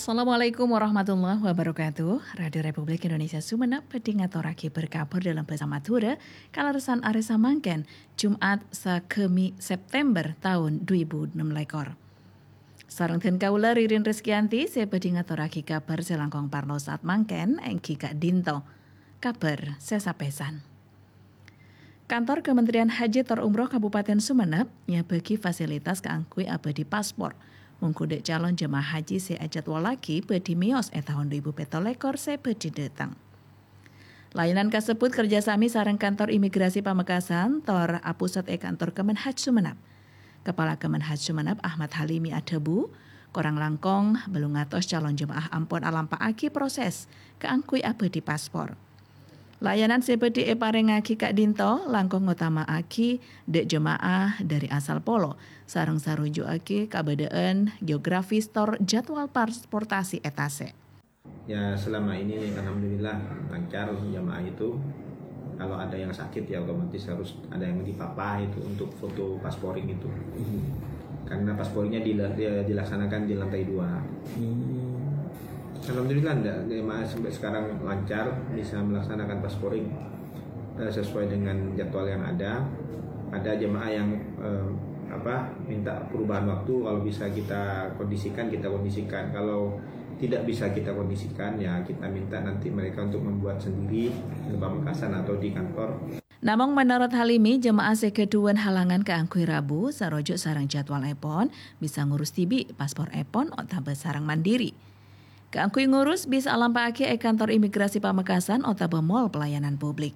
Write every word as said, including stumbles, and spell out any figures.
Assalamualaikum warahmatullahi wabarakatuh. Radio Republik Indonesia Sumenep bhâdhi ngatorraghi berkabar dalam bahasa Madura, kalerressan arè samangkèn, Jumat sagâmi September taon dhu èbu ennem lèkor. Sareng dân kaulâ Ririn Rizkyanti sè bhâdhi ngatorraghi kabar sè langkong parlo saat mangkèn, èngghi ka'dinto. Kabar sè sapèsan. Kantor Kementerian Haji tor Umroh Kabupaten Sumenep nyabâgi fasilitas kaangghuy abâdhi paspor. Mongghu dâ' calon jemaah haji sè ajadwallaghi bhâdhi mèyos è taon dhu èbu pètto lèkor sè bhâdhi dâteng. Layanan kasebbhut kerjasami sareng Kantor Imigrasi Pamekasan tor apusat è Kantor Kemenhaj Sumenep. Kapala Kemenhaj Sumenep Ahmad Halimi adhâbu, korang langkong bâllung atos calon jemaah ampon alampa'aghi proses kaangghuy abâdhi paspor. Layanan sè bhâdhi èparèngaghi ka'dinto langkong ngotama'aghi dâ' jemaah dâri asal polo, sareng saruju'aghi kabâdâ'ân geografis tor jadwal transportasi è tasè'. Ya, selama ini alhamdulillah lancar jamaah itu. Kalau ada yang sakit ya otomatis harus ada yang dipapa itu untuk foto pasporing itu. Karena pasporingnya dila- dia dilaksanakan di lantai dua. Alhamdulillah enggak, jamaah sampai sekarang lancar bisa melaksanakan pasporing eh, sesuai dengan jadwal yang ada. Ada jemaah yang eh, apa minta perubahan waktu, kalau bisa kita kondisikan, kita kondisikan. Kalau tidak bisa kita kondisikan, ya kita minta nanti mereka untuk membuat sendiri di Pamekasan atau di kantor. Namong menurut Halimi, jemaah sè ghâdhuwân halangan kaangghuy rabu saroju' sareng jadwalèpon bisa ngurus dhibi' pasporèpon otabâ sareng mandiri. Kaangghuy ngurus bisa alampa'aghi è Kantor Imigrasi Pamekasan otabâ mall pelayanan publik.